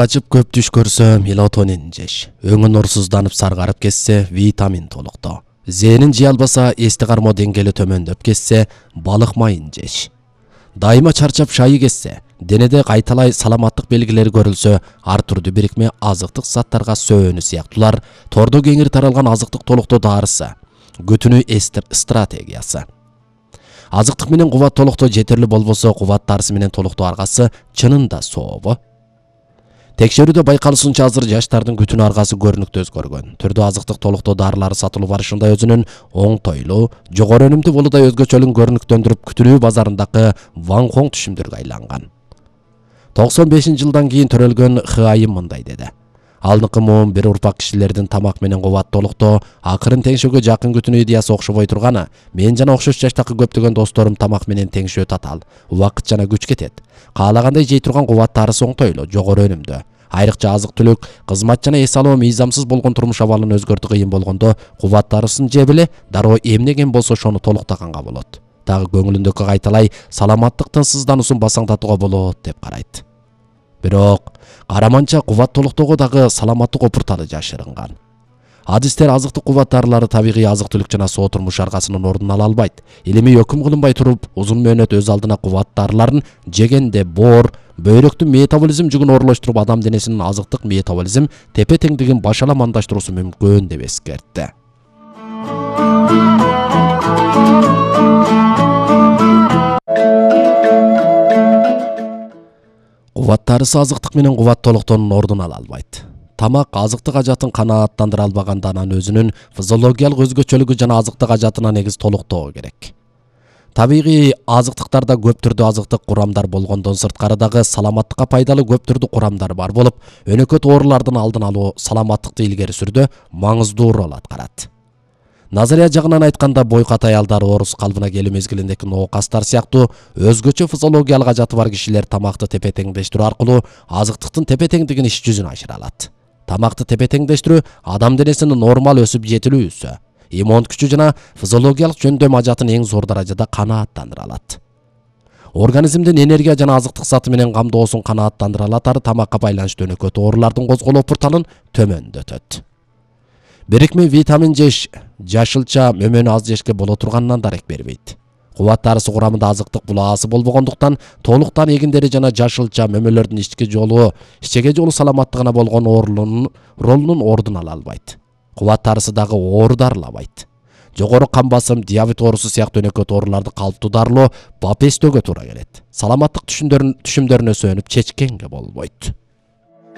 Ачып көп түш көрсө мелатонин жеш. Өңүн орсузданып саргарып кетсе витамин толуктоо. Зээнин жей албаса эсти кармоо деңгээли төмөндөп кетсе балык майын жеш. Дайыма чарчап шайы кетсе, денеде кайталай саламаттык белгилери көрүлсө, ар түрдүү бирикме азыктык заттарга сөөнү сыяктуулар тордо кеңири таралган азыктык толуктоо дарысы, күтүнүү стратегиясы. Азыктык менен кубат толуктоо жетерлик болбосо, кубат дарысы менен толуктоо аргасы чынында сообу? Текшерүүдө байкалышынча азыр жаштардын күтүнүү аргасы көрүнүктүү өзгөргөн. Түрдүү азыктык толуктоо дарылары сатылып барышында өзүнүн оңтойлуу, жогору өнүмдүү болуудай өзгөчөлүгүн көрүнүктөндүрүп, күтүнүү базарындагы ваңхоң түшүмдөргө айланган. 95-жылдан кийин төрөлгөн Хыайым мындай деди. Алдыңкы муун бир урпак кишилердин тамак менен кубат толуктоо, акырын теңшөөгө жакын күтүнүү идеясы окшобой турганы, мен жана окшош жаштагы көптөгөн досторум тамак менен теңшөө татаал, убакыт жана күч кетет. Каалагандай жей турган кубат дарысы оңтойлуу, жогору өнүмдүү. Айрыкча азык-түлүк, кызмат жана эс алуу мыйзамсыз болгон турмуш абалын өзгөртүү кыйын болгондо кубат дарысын жеп эле дароо эмнеген болсо ошону толуктаганга болот. Дагы көңүлүндөгү кайталай саламаттык тынчсыздануусун басаңдатууга болот деп карайт. Бирок караманча кубат толуктоого дагы саламаттык опурталы жашырынган. Адистер азыктык кубат дарылары табигый азык-түлүк жана соо турмуш аргасынын ордун ала албайт. Илимий өкүм кылынбай туруп, узун мөөнөт өз алдына кубат дарыларын жегенде боор, бөйрөктүн метаболизм жүгүн оорулаштырып, адам денесинин азыктык метаболизм тепе-теңдигин башаламандаштыруусу мүмкүн деп эскертти. Кубат дарысы азыктык менен кубат толуктоонун ордун ала албайт. Тамак азыктык ажатын канааттандыра албаганда анан өзүнүн физиологиялык өзгөчөлүгү жана азыктык ажатына негиз толуктоо керек. Табигый азыктыктарда көп түрдүү азыктык курамдар болгондон сырткары дагы саламаттыкка пайдалуу көп түрдүү курамдар бар болуп, өнөкөт оорулардын алдын алуу, саламаттыкты илгери сүрүүдө маңыздуу роль аткарат. Назария жагынан айтканда, бойкат аялдар, оорус калыбына келүү мезгилиндеги ноокастар сыяктуу өзгөчө физиологиялык ажаты бар кишилер тамакты тепе-теңдештирүү аркылуу азыктыктын тепе-теңдигин иш жүзүнө ашыра алат. Тамакты тепе-теңдештирүү адам денесинин нормал өсүп жетилүүсү, иммун күчү жана физиологиялык жөндөм ажатын эң зор даражада канааттандыра алат. Организмдин энергия жана азыктык заты менен камдоосун канааттандыра алатары тамакка байланыштуу өнөкөт оорулардын козголуу опурталын төмөндөтөт. Бирикме витамин жеш жашылча мөмөнү аз жешке боло турганынан дарек бербейт. Кубат дарысы курамында азыктык булаасы болбогондуктан толуктан эгиндери жана жашылча мөмөлөрдүн ичеге жолу саламаттыгына болгон ролунун ордун ала албайт. Кубат дарысы дагы оору дарылабайт. Жогору кан басым, диабет оорусу сыяктуу өнөкөт ооруларды калыптуу дарылоо бап эстөөгө туура келет. Саламаттык түшүмдөрүнө сөөнүп чечкенге болбойт.